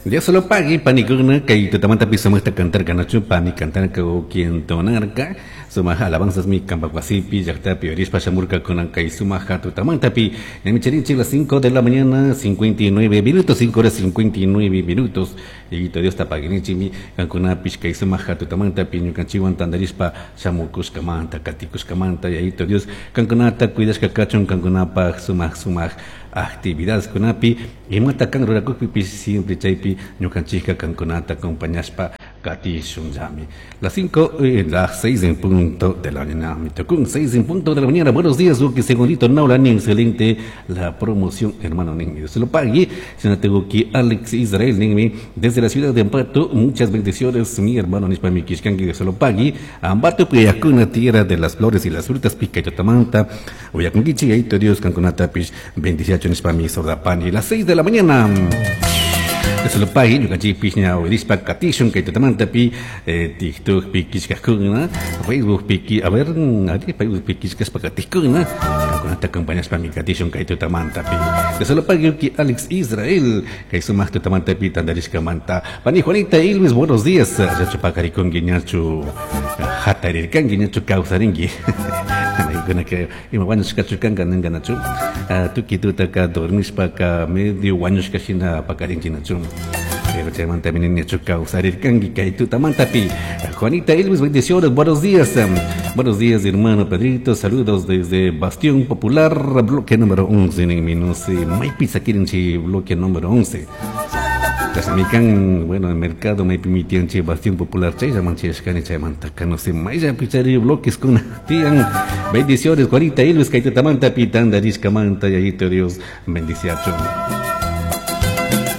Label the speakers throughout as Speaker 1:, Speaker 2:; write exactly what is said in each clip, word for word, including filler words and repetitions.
Speaker 1: Dios lo pague, panikuna, kay tutamanta pi sumaqta cantarka pani cantarka o entonarka, sumaq alabanzas mi kampa wasipi, llaqtapi orispa shamurkakuna kay sumaq tutamantapi, ñami las cinco de la mañana, cincuenta y nueve minutos, cinco horas cincuenta y nueve minutos, y Dios ta paguinichimi, kankunapish kay sumaq tutamantapi, ñukanchikwan tantarishpa shamukushkamanta, katikushkamanta, Yayito Dios, kankunata cuidashka kachun, kankunapaj sumaq sumaq actividades kunapi, imata kan rurakukpipish siempre chaypi ñukanchikka kankunata acompañashpa katishunllami. Las cinco, eh, las seis en punto de la mañana, me tocó un seis en punto de la mañana. Buenos días, que segundito, Naulani, excelente la promoción, hermano Dios se lo pague. Si no tengo que Alex Israel, ninmi, desde la ciudad de Ambato, muchas bendiciones, mi hermano nishpa mi killkanki, Dios se lo pague. Ambato, Puyacuna, tierra de las flores y las frutas, pica y tamanta, Uyakunkichi, Yayito Dios, kankunatapish, bendiciacho nishpa mi sordapani. Las seis de la mañana. Dios lo pague, ñukanchikpish ña uyarishpa katishun kay tutamantapi, eh, TikTok pi killkajkuna, Facebook pi, a ver, ari Facebook pi killkashpa katijkuna, kankunata acompañashpa mi katishun kay tutamantapi. Dios lo pague ki Alex Israel, kay sumaq tutamantapi tantarishkamanta. Pani Juanita Ilves, buenos días. Llachu paqarikunki, ñachu hatarirkanki, ñachu kawsarinki. Maykuna que ima wañushkachu kanka ninka nachu. Tuki tutaka dormishpaka medio wañushka shina paqarinki nachu. Pero chaymanta ñachu kawsarirkanki kay tutamantapi. Juanita Elvis, bendiciones, buenos días. Buenos días, hermano Pedrito. Saludos desde Bastión Popular, bloque número once. No sé, maypi sakirinchi bloque número once. Tasamikan, bueno, el mercado maypimi tiyanchi Bastión Popular, chayllaman chayashkani chaymantaka, no sé, mayllapi chari bloques kuna tiyan. Bendiciones, Juanita Elvis, kay tutamantapi tantarishkamanta, Yayito Dios, bendiciachun.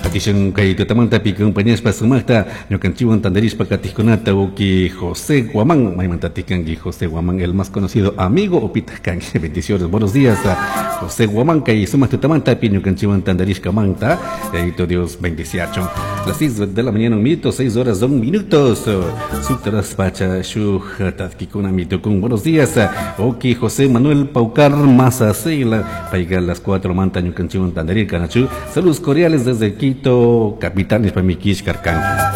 Speaker 1: Katishun kay tutamantapi compañíaspa sumaqta ñukanchikwan tantarishpa katijkunata uki José Guamán, maymanta tikanki José Guamán, el más conocido amigo opitaq kanki. Bendiciones, buenos días, José Guamán, kay sumaq tutamantapi ñukanchikwan tantarishkamanta, Yayito Dios bendiciachun. Las seis de la mañana un minuto, seis horas dos minutos, sukta horas pacha shuk tatkikuna mitukun. Buenos días, uki José Manuel Paucar Mazacela, payka las cuatro manta ñukanchikwan tantarirka nachu. Saludos cordiales desde Quito, capital, nishpa mi killkarkanki.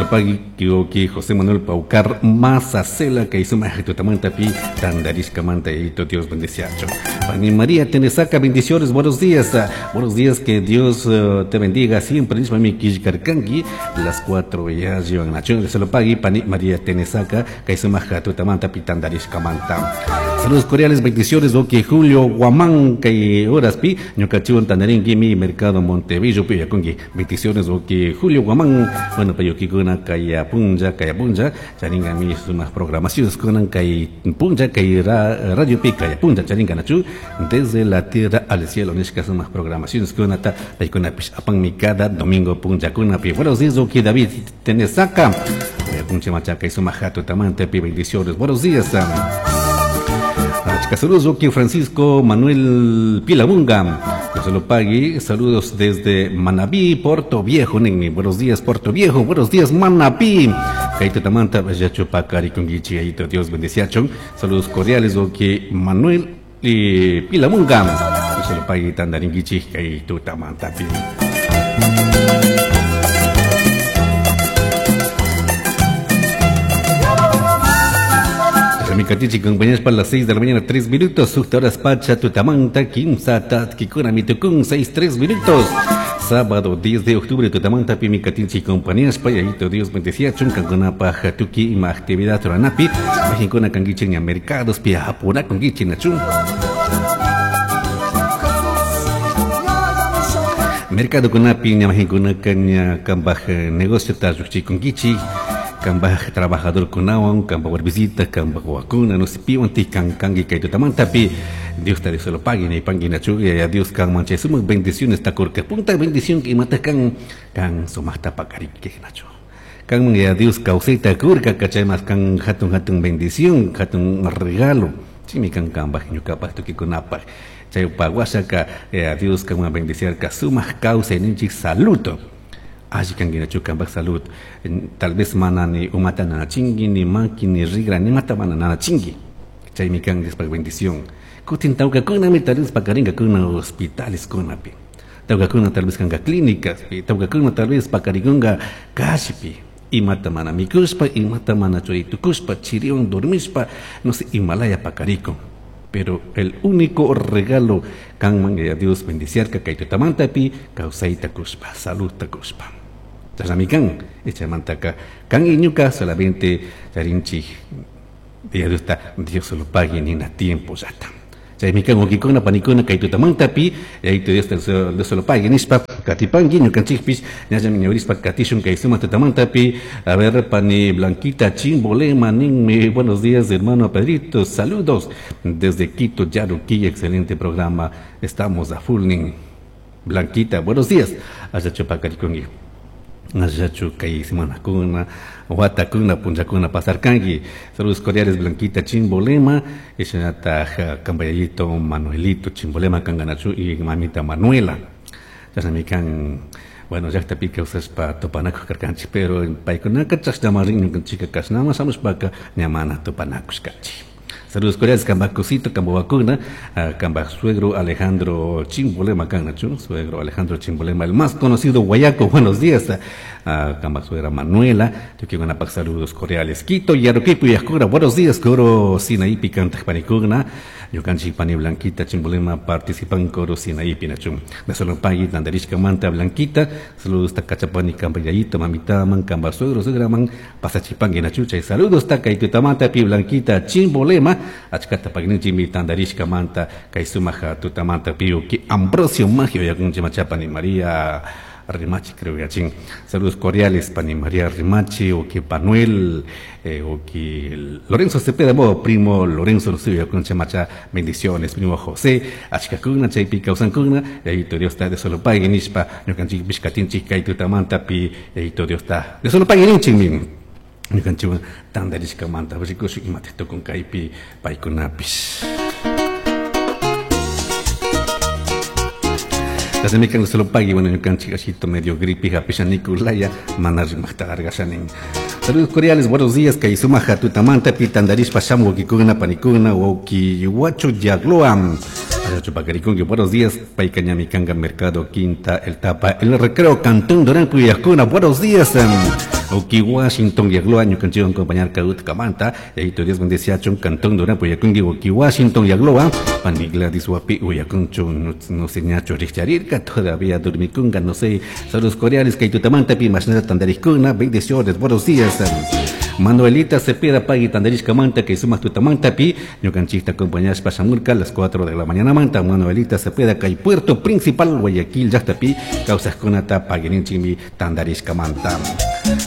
Speaker 1: Pagui José Manuel Paucar Mazacela kay sumaq tutamantapi tantarishkamanta, Yayito Dios bendiciacho. Pani María Tenesaca, bendiciones, buenos días. Buenos días, que Dios uh, te bendiga siempre. Nishpa mi killkarkanki, las cuatro ya llevan nacho. Se lo pague Pani María Tenesaca kay sumaq tutamantapi tantarishkamanta. Saludos cordiales, bendiciones, ok Julio Guamán kay horaspi ñukanchikwan tantarinki mi mercado Montevideo pi yakunki. Bendiciones, ok Julio Guamán. Bueno, payukikuna kay punlla, kay punlla, charinga mi sumaq programaciones kunan kay punlla, kay ra, radio pi kay punlla charinga nachu, desde la tierra al cielo nishka sumaq programaciones kunata paykunapish apanmi cada domingo punlla kunapi. Buenos días, ok David Tenesaca. Puncha machaca y sumaq tutamanta pi, bendiciones. Buenos días. Saludos, ok Francisco Manuel Pilamunga. Dios lo pague. Saludos desde Manabí, Puerto Viejo. Ninmi. Buenos días, Puerto Viejo. Buenos días, Manabí. Kay tutamanta, llachu paqarikunkichi, Yayito Dios bendiciachun. Saludos cordiales, ok Manuel eh, Pilamunga. Dios lo pague tantarinkichi, kay tutamanta pi. Mikatichi compañeros para las seis de la mañana, tres minutos, sukta horas pacha, tutamanta, kimsa, tatkikuna, mitukun, seis, tres minutos. Sábado diez de octubre, tutamanta, pi mikatinchi compañías, payayito Dios bendecía, kankunapaj, tuki, ima actividad, ruranapi, majinkuna kankichi, ña mercados, pi apura, kunkichi, nachun. Mercado kunapi, ña majinkuna kaña, kambaj negocio, ta lluqchikunkichi, kambaj trabajador kunawan, kambaj warmisita, kambaj wawakuna, no sé, piwan tikan kanki kay tutamantapi. Dios te se lo pague, ni pangi nachu, y a Dios kan manche sumaq bendiciones takurka. Punta bendición que imata kan, kan sumaqta paqariki nachu. Kan ya Dios kawsayta kurka, kachay mas kan hatun hatun bendición, hatun regalo. Chimi kan kambaj ñuqapaj tukikunapaj. Chay pawashaka, eh, a Dios kan bendiciar ka sumaq kawsayninchik saludo. Alli kanki nachu kambaj salud. Tal vez mana ni umata nanachinki, ni maki, ni rigra, ni mata mana nanachinki. Chaymi kan Diospaj bendición. Kutin tawkakunami tal vez pakarinka hospitales kunapi. Tawkakuna tal vez kanka clínicas, tawkakuna tal vez pakarikunka kashipi. Imata mana mikushpa, imata mana churitukushpa, chiriwan dormishpa, no sé, imalaya pakarikun. Pero el único regalo kanman a Dios bendiciarka kay tutamantapi kawsayta kushpa, saludta kushpa. Chashnami kan, echamantaka kan iñuka solamente charinchik Dios Dios lo pague nina tiempo llata. Chaymi kan wawqikuna panikuna kay tutamantapi Yayito Dios Dios lo pague nishpa katipanki ñukanchikpish ñallami ñawirishpa katishun kay sumaq tutamantapi. A ver, pani Blanquita Chimbolema ninmi, buenos días hermano Pedrito, saludos desde Quito, Yaruquí, excelente programa, estamos a full nin. Blanquita, buenos días, achachu pakarikunki. Achachu kay semanakuna, watakuna, punchakuna pasarkanki. Saludos cordiales Blanquita Chimbolema, ishanata kambayayito Manuelito Chimbolema kanganachu y mamita Manuela. Chashnami kan, bueno, llaqtapi kawsashpa tupanakuq karkanchik, pero paykunaka chashnamarin ñukanchikka kashnama shamushpaka ña mana tupanakushkanchik. Saludos cordiales kambacosito, kambawakuna, kamba suegro Alejandro Chimbolema kanachu, suegro Alejandro Chimbolema, el más conocido guayaco, buenos días, kamba suegra Manuela, tukikunapaq saludos cordiales. Quito, Yaruquipo y Yascura, buenos días, coro Sinaipi kantaq panikuna, ñukanchik pani Blanquita Chimbolema participan coro Sinaipi nachun. Nasolopagui tandarishka manta Blanquita, saludos takachapani kambayayito, mamitaman, kamba suegro, suegraman, pasachipangi nachuchay, saludos takaytutamanta pi Blanquita Chimbolema, achkata pagninchimi tandarishka manta kay sumaja tutamanta piu ki Ambrosio Magio yakunchi machapani María Rimachi, creo que chin. Saludos cordiales pani María Rimachi, o que Panuel, eh, o que Lorenzo Cepeda, modo primo Lorenzo Lucillo yakunchi macha, bendiciones primo José, achkakuna chaypi kawsankuna, yayito Dios ta de solo pagui nishpa, ñukanchik pishkatinchik kay tutamanta pi, yayito Dios ta de solo pagui ninchik min. Ñukanchikwan tandarishkamanta rikushun imata tukun kaypi paykunapish. Chashnami kan solo pagui, bueno, ñukanchik ashito medio gripe hapisha Nicolaya mana rimaqta argashanin. Saludos cordiales, buenos días, kay sumaja tutamanta pi tandarishpa shamu wawqikuna panikuna wawqi Huacho Yagloam. Chupacaricongue, buenos días, Paicañami Canga, Mercado Quinta, El Tapa, El Recreo, Cantón Durán, Cuyascuna, buenos días. Oki Washington, Yagloa, ñukanchikwan acompañar Caut Camanta, Yayito Dios bendeciachun, Cantón Durán, Puyakungi, Oki Washington, Yagloa, Pani Gladys Wapi, Uyakunchu, no sé, ñacho Richarirka, todavía dormikunga, no sé. Saludos cordiales, Kaitutamanta, pi, Mashnata Tandarikuna, bendiciones, buenos días. Manuelita Cepeda, Pagui Tandarishka Manta, que sumas tutamanta pi, ñukanchikta acompañashpa shamurka a las cuatro de la mañana manta, Manuelita Cepeda, kay Puerto Principal, Guayaquil, llaqtapi, kawsaqkunata paguininchikmi Tandarishka Manta.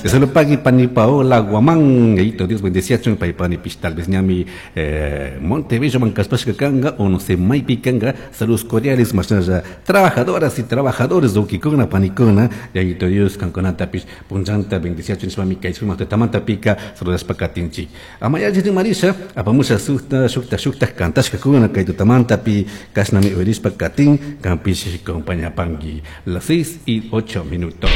Speaker 1: Solo pagui pani Paola Guamán, yayito Dios bendeciachun, pay pani pish tal vez ñami eh, Montebello mankaspashka kanga, o no sé, maypi kanga, saludos cordiales, mashnalla, trabajadoras y trabajadores, wawqikuna, panikuna, yayito Dios, kankunata pish, punchanta, bendeciachun, nishpami kay sumaq tutamanta pika, saludashpa katinchik. Amayachi Marisha, apamusha sukta, shukta, shukta, kantashkakuna, kay tutamantapi, kashnami uyarishpa katin, kampish compañapanki. Las seis y ocho minutos.